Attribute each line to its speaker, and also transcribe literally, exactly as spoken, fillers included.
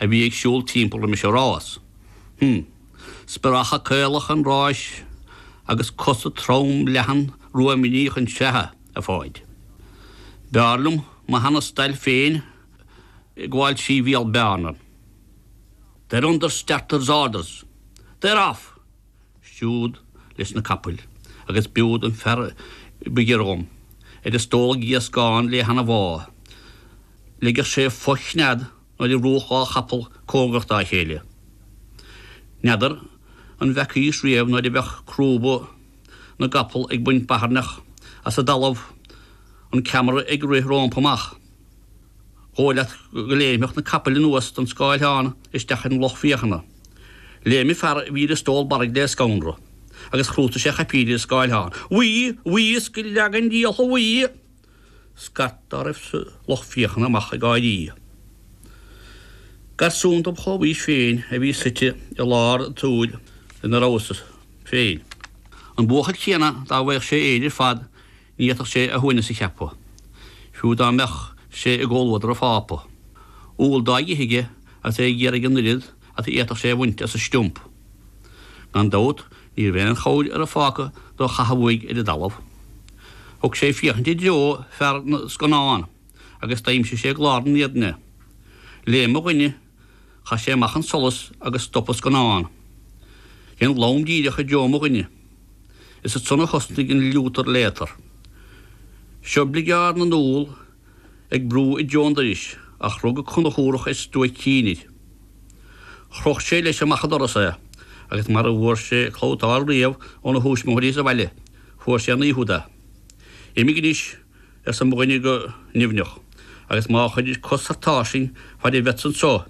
Speaker 1: a bhí ag siúl timpeall roimis an rás. Hm. Spréacha caolacha an ráis agus cosa trom leathan rua imníoch an tseatha a Pháid. B'fhearr liom mo sheana-stail féin ag gabháil trí bhéal bearna. They're under starter's orders. They're off! Siúd leis na capaill, agus b'iúd an fear ba ghiorra dhom, ar an stól gíoscán le hana-bhá. Leigeadh sé fo-chnead nuair a bhrúdh dhá chapall cóngarach dá chéile. N'fheadar an bhfeacaís riamh nuair a bheadh crúba na gcapall ag baint bairneach as an dtalamh an ceamara ag rith rompu amach. Dhóigh leat go léimfeadh na capaill anuas den scáileán isteach in lucht féachana. Léim an fear a bhí ar an stól barraigh le scanradh, agus chrútaigh sé a chaipín ar an scáileán. Bhuí! Bhuí is go leaga an diabhal thú bhuí! Scairt dá raibh sa lucht féachana amach ag gáirí. Garsún dom chomhaois féin a bhí suite i lár an tsaoil ina rabhas féin. An buachaill céanna dá bhfaigheadh sé Éire ar fad ní fhéadfadh sé a shuaimhneas a cheapadh, fiú dá mbeadh sé i gcomhluadar an Phápa. Úll dá ithe aige agus é ag iarraidh an oiread is a d'fhéadfadh sé a bhaint as an stump. Gan dabht ní raibh aon chabhair ar an Phápa do chaitheamh uaidh ar an dtalamh. Thug sé féachaint i dtreo fear na scannán agus d'aimsigh sé glár an éadain é. Léim mo dhuine, chaith sé amach an solas agus stop an scannán. Dhein lom díreach i dtreo mo dhuine. Is ansan a thosnaigh an liútar léatar. Seo bligeard na n-úll ag brú i dtreo an dorais ach rug an Conchúrach ar stuaic cinn air. Chroch sé leis amach an doras é, agus mara bhfuair sé clabhtáil riamh óna thuismitheoirí sa bhaile, fuair sé an oíche úd é. Imigh anois, arsa mo dhuine go nimhneach, agus má chuirir cos thar táirseing fad a bheadsa anseo,